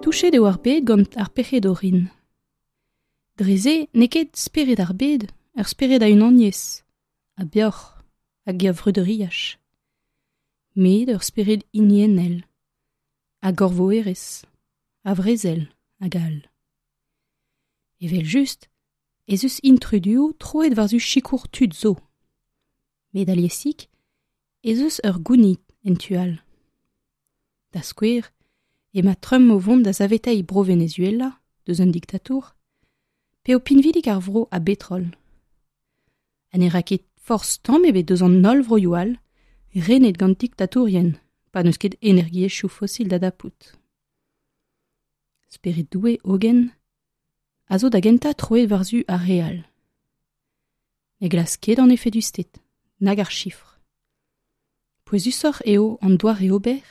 Touchet eo ar bed gant ar pec'hed orin. Dre se n'eo ket spered ar bed ur spered a unaniezh, a beoc'h hag a vreudeuriaj, met ur spered hiniennel, a gorvoerezh, a vrezel hag all. Evel-just ez eus intruduoù troet war-zu sikour tud zo. Met aliesik ez eus ur gounid en tu all. Da skouer, emañ Trump o vont da saveteiñ Bro-Venezuela deus un diktatour, p'eo pinvidik ar vro a betrol. Ha ne ra ket forzh tamm ebet deus an holl vroioù all renet gant diktatourien pa n'eus ket energiezhioù fosil da dapout. Spered Doue hogen a zo da gentañ troet war-zu ar re all. Ne glask ket an efedusted, nag ar chifr. Pouezusoc'h eo an doare ober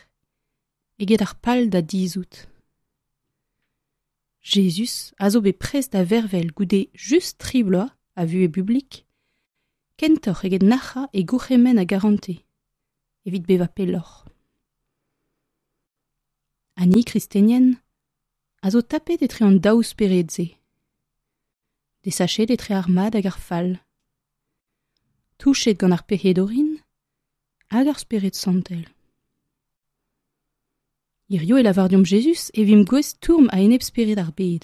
eget ar pal da dizhout. Jezuz a zo bet prest da vervel goude just tri bloaz a vuhez bublik, kentoc'h eget nac'hañ e gourc'hemenn a garante, evit bevañ pelloc'h. Ha ni, kristenien, a zo tapet etre an daou spered-se. Desachet etre ar mad hag ar fall. Touchet gant ar pec'hed orin hag ar Spered Santel. Hirio e lavar deomp Jezuz e vimp gouest stourm a-enep spered ar bed.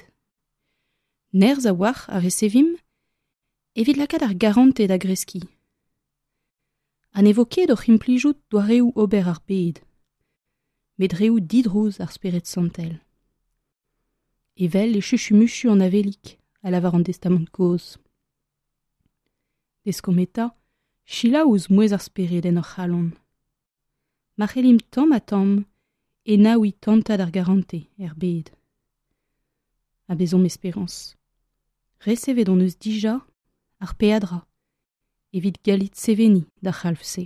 Nerzh a-walc'h a resevimp evit lakaat ar garantez da greskiñ. Ha ne vo ket oc'h implijout doareoù ober ar bed, met reoù didrouz ar Spered Santel. Evel e chuchumuchu an avelig, a lavar an Testamant kozh. Deskomp eta selaou ouzh mouezh ar Spered en hor c'halon. Ma c'hellimp tamm-ha-tamm enaouiñ tantad ar garantez er bed. Ha bezomp esperañs. Resevet hon eus dija ar peadra evit gallit seveniñ d'ar c'halv-se.